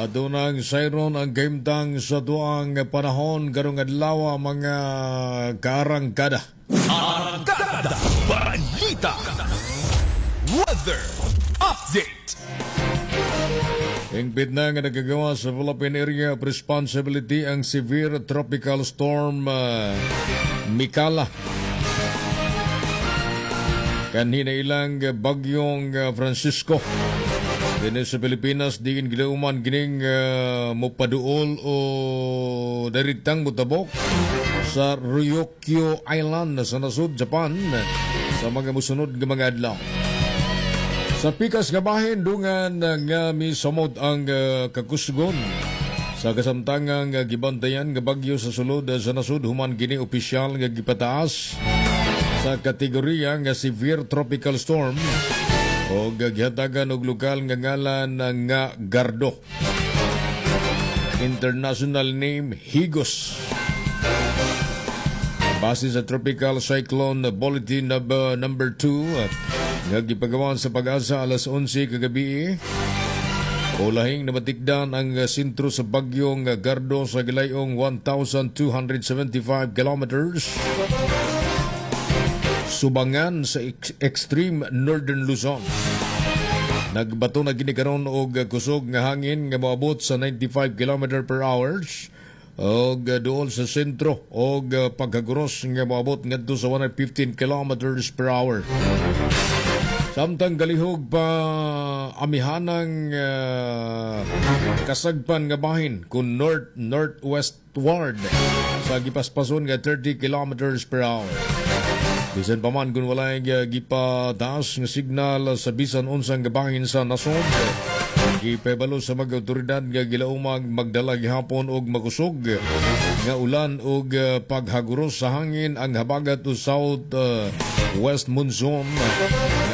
Adunang sayron ang kahimtang sa tuang panahon karong adlaw, mga kaarangkada. Arangkada Balita. Weather Update. Hingpit na nga nagagawa sa Philippine Area of Responsibility ang severe tropical storm Mekkhala. Kanhi ilang bagyong Francisco. Dinhi sa Pilipinas, diin gilauman gining mopaduol o direktang mutabok sa Ryukyu Island sa nasud Japan sa mga musunod nga mga adlaw. Sa pikas nga bahin, dungan nga misamot ang kakusgon sa kasamtangang gibantayan nga bagyo sa sulod sa nasud human kini opisyal nga gipataas sa kategorya nga severe tropical storm o gihatagan og lokal nga ngalan nga Gardo. International name, Higos. Base sa Tropical Cyclone Bulletin number 2 nga gipagawan sa PAGASA alas 11 kagabi, ulahing namatikdan ang sentro sa bagyong Gardo sa gilayong 1,275 kilometers subangan sa extreme northern Luzon. Nagbato na gini karon og kusog nga hangin nga moabot sa 95 km per hour og duol sa sentro og pagkaguros nga moabot ngadto sa 115 kilometers per hour. Samtang galihog pa amihanang kasagpan nga bahin kung north northwestward sa gipaspason nga 30 kilometers per hour. Bisan pa man kung walay gipataas nga signal sa bisan unsang gabahin sa nasod, gipahibalo sa mga otoridad nga gilaumag magdala gihapon og makusog nga ulan og paghaguros sa hangin ang habagat o south west monsoon.